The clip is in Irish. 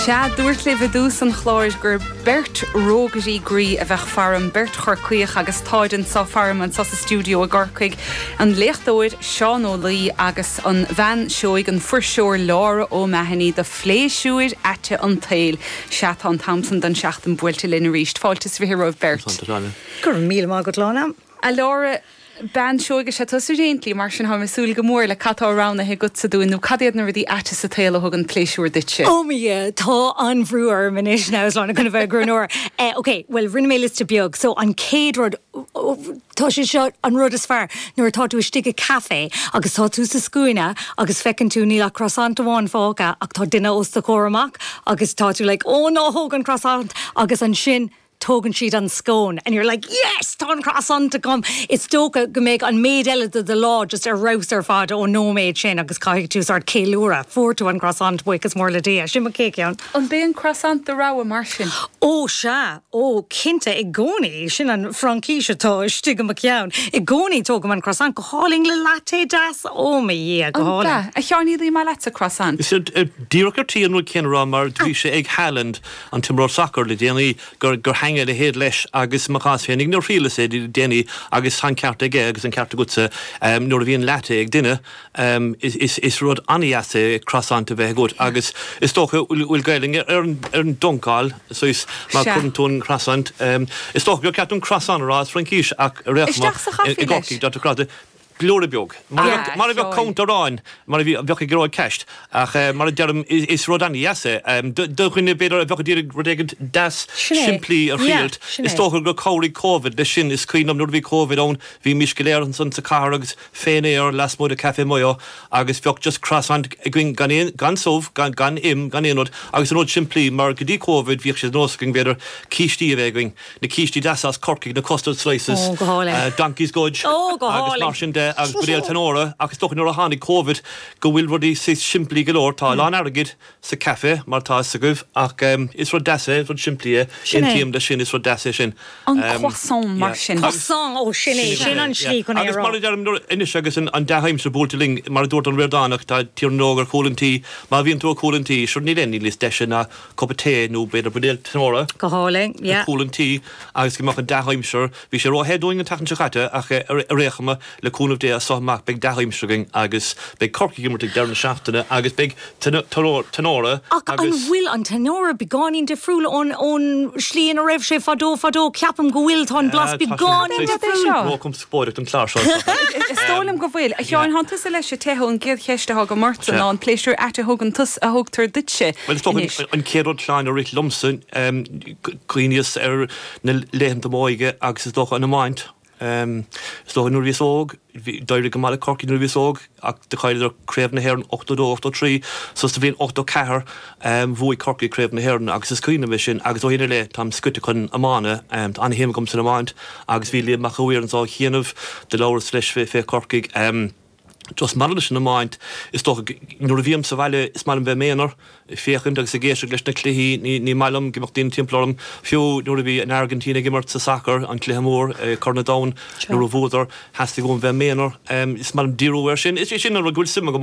Sea, dúrt libh i dtús an chláir gur beirt rógairí groí a bheadh faram, beirt Chorcaíoch agus táid anso faram anso sa stiúideo i gCorcaigh, an léachtóir Seán Ó Laoi agus an bhean seoigh, an fuirseoir Laura O'Mahony do phléisiúir aite an tsaoil. Sea, tá an t-am san den seachtain buailte linn arís. Fáilte is 20 romhaibh beirt. Go raibh míle maith agat, Lána. A Laura, bean seoigh is ea tusa ar aon tslí, mar sin táim ag súil go mór le cad tá roghnaithe agatsa dúinn nó cad iad na rudaí aite sa tsaol a thugann pléisiúr duitse? Oh mo Dhia, tá an-bhrú orm anois now is Lána chun a bheith ag roghnóir. Eh, ok, bhuel rinne mé liosta beag, so an chéad rud, tá sé seo an rud is fearr, nuair atá tú istigh i café agus tá tú sa scuaine agus feiceann tú níl ach croissant amháin fágtha ach tá duine os do chomhair amach agus tá tú like oh ná thóg an croissant agus ansin tógann siad an scone and you're like yes tá an croissant agam! Is dócha go mbeidh an méid eile de do lá just ar fheabhas ar fad ón nóiméad sin agus caithfidh tú sort ceiliúradh, fuair tú an croissant, buíochas mór le Dia. Sin mo chéad cheann. An b'é an croissant do rogha mar sin? Ó sea, ó cinnte i gcónaí, sin an Fraincis atá istigh i mo cheann. I gcónaí tógaim an croissant, go hálainn le latte deas, ó mo Dhia, go An hálainn. ea? A Sheáin, ní maith leatsa croissant? Is díreach ar tí an rud céanna a rá mar bhí sé ag Haaland an t-imreoir sacair le déanaí, gur thaitnigh a leithéid leis agus i mo chás féinig nuair a thriaileas é le déanaí agus tá an ceart aige agus an ceart agatsa nuair a bhíonn latte ag duine is rud an-dheas é croissant a bheith agat agus is dócha bhfuil Gaelainn ar an dunkáil saghas má chuireann tú an croissant is dócha gur ceart an croissant a rá as Fraincis ach ar aon chuma i gCorcaigh deirtear croissant. Blúire beag. Mar a bheadh cónt aráin, mar a bheadh ag Gearóid Ceist. Ach mar a deirim, is rud an-dheas é. Do dhuine, b'fhéidir, a bheadh ag iarraidh rud éigin deas simplí a thriailt, is dócha gur chabhraigh Covid leis sin. Is cuimhin liom nuair a bhí Covid ann, bhímís go léir ansan sa chathair agus fén aer lasmuigh de Café Mayo agus bheadh just croissant againn gan aon, gan subh, gan, gan im, gan aon rud agus an rud simplí mar go dtí Covid bhíodh sé de nós againn, b'fhéidir, cístí a bheith againn. na cístí deasa as Corcaigh, na custard slices, Ó, go hálainn. Donkey's Gudge Ó, go agus hálainn. mar sin de agus buidéal Tanora ach is dócha nuair a tháinig Covid go bhfuil rudaí saghas simplí go leor. Tá a lán airgid sa caife mar tá fhios agaibh ach is rud deas é, is rud simplí é. Sin é. Aontaím leis sin, is rud deas é sin. An croissant mar sin. Croissant, ó sin é, sin an slí chun é a Agus rá. mar a deirim nuair, anois agus an dea-aimsir buailte linn, mar a dúirt an Ríordánach, tá Tír na nÓg ar chúl an tí, má bhíonn tú ar chúl an tí, sure níl aon ní níos deise ná cupa tae nó b'fhéidir buidéal Tanora Go hálainn, ar yeah. chúl an tí agus go mbeadh an dea-aimsir. Bhí sé ró-the dúinn an tseachtain seo caite ach ar aon chuma, le cúnamh Dé as seo amach beidh dea-aimsir againn agus beidh Corcaigh ag imirt ag deireadh na seachtaine agus beidh Tanora Ach an agus. bhfuil an Tanora beagáinín difriúil ón ón slí ina raibh sé fadó fadó? Ceapaim go bhfuil, tá an blas Tá sé beagáinín difriúil. Ró-chonspóideach don chlár seo is dócha. Is dóigh liom go bhfuil. A Sheáin, thánn tusa leis an teitheadh, an gcéad cheist atá agam ortsa ná an pléisiúr ait a thugann tusa, a thugtar duitse. Bhuel, is dócha an chéad rud Shláine a rith liomsa, cuimhníos ar na laethanta m'óige agus is dócha an iomáint. Is dócha nuair a bhíos óg, d'éirigh go maith le Corcaigh nuair a bhíos óg ach do chailleadar Craobh na hÉireann 82, 83 so sa bhliain 84 bhuaigh Corcaigh Craobh na hÉireann agus is cuimhin liom é sin agus ó shin i leith táim scoite chun iomána. Tá an-shuim agam san iomáint agus bhí Liam Mac a' Mhaoir anso chianaibh, do labhras leis fé Chorcaigh. Just maidir leis an iomáint, is dócha, nuair a bhím sa bhaile is maith liom bheith i m'aonar, ag féachaint agus ag éisteacht leis na cluichí, ní maith liom go mbeadh daoine timpeall orm. Fiú nuair a bhí an Airgintín ag imirt sa sacar, an cluiche mór, Corn an Domhain, nuair a bhuadar, theastaigh uaim bheith i m'aonar. Is maith liom díriú air sin. Is é sin an rud go bhfuil suim agam.